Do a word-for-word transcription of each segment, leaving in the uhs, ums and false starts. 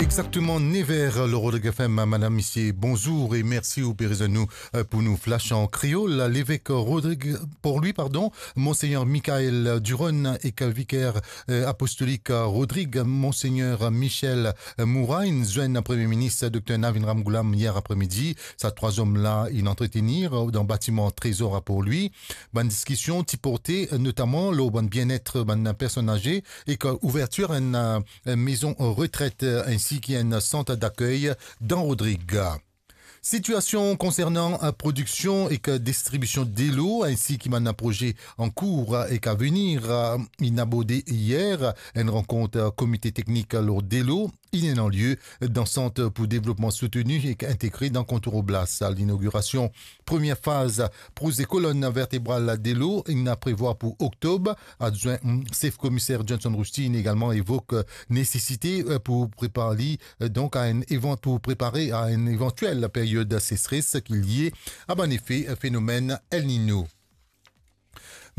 Exactement nev er lor Rodrig F M. Madam, misie, bonzour e mersi ou pe rezwenn nou, euh, pou nou flash an kreol. Levek Rodrig, Port-Louis, pardon, Monseigneur Michael Duron ek viker, euh, apostolik Rodrig, Monseigneur Michel Moura, inn zwenn Premie Minis Dokter Navin Ramgoolam yer apremidi. Sa trwa zom la inn antretenir dan batiman Trezor a Port-Louis. Bann diskision ti porte, euh, notaman lor bann bienet bann personn aze ek, euh, ouvertir enn, euh, mezon retret, euh, ensi ki enn sant dakey dan Rodrig. Sitiasion konsernan, euh, prodiksion ek distribision delo, ensi ki bann proze an kour, euh, ek a venir, euh, inn aborde yer enn rankont, euh, komite teknik lor delo, inn ena lie dan Sant pou Devlopman Souteni ek Integre dan Kontour Oblas. Linogirasion premie faz proze kolonn vertebral delo inn a prevwar pou oktob. Adwin, mm, sef komiser Johnson Rousty inn egalman evok, euh, nesesite, euh, pou prepar li, euh, donk a enn evan-, pou prepare a enn evantiel period sesres ki lie a bann efe, euh, fenomenn El Niño.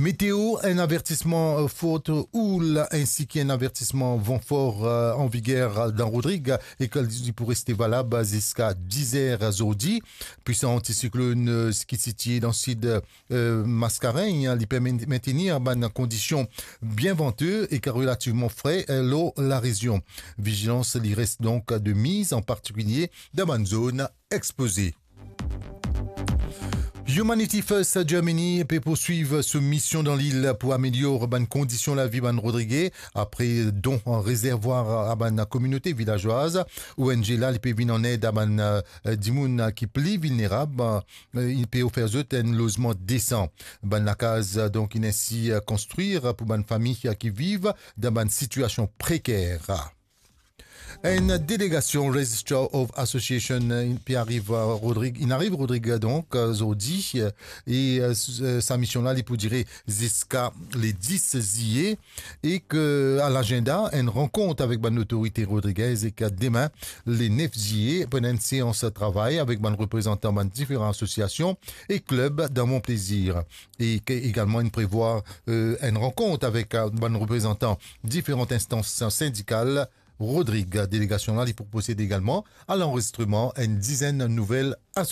Meteo, enn avertisman, euh, fort houle ensi ki enn avertisman van for, euh, an viger dan Rodrig e ki li pou reste valab ziska diz er zordi. Pwisan antisiklonn, euh, ki sitie dan sid, euh, Mascarenhas, li pe men-, mentenir bann kondision bien vante ek relativman fre, euh, lor larezion. Vizilans li res donk de miz, an partikilie dan bann zone expoze. Humanity First Germany pe pourswiv so mision dan lil pou amelior bann kondision lavi bann Rodrige, apre don an rezervwar a bann kominote vilazwaz. O N G la, li pe vinn an ed a bann, euh, dimoun ki pli vilnerab, euh, li pe ofer zot enn lozman desan. Bann lakaz, euh, donk, inn ensi, euh, konstrir pou bann fami ki viv dan bann sitiasion preker. Enn delegasion Registrar of Association, euh, inn pe ariv, euh, Rodrig, inn ariv Rodrig, donk, euh, zordi, euh, e, euh, s-, euh, sa mision la, li pou dire ziska le dis ziye, e ki a lazinda enn rankont avek bann lotorite rodrigez, e ki demin, le nef ziye, pou ena enn seans travay avek bann reprezantan bann diferan asosiasion e klib dan Mon Plaisir. E ki egalman inn prevwar, euh, enn rankont avek, euh, bann reprezantan diferan instans sindikal. Rodrig, delegasion la, li pou prosede egalman a lanrezistreman enn dizenn nouvel asosiasion.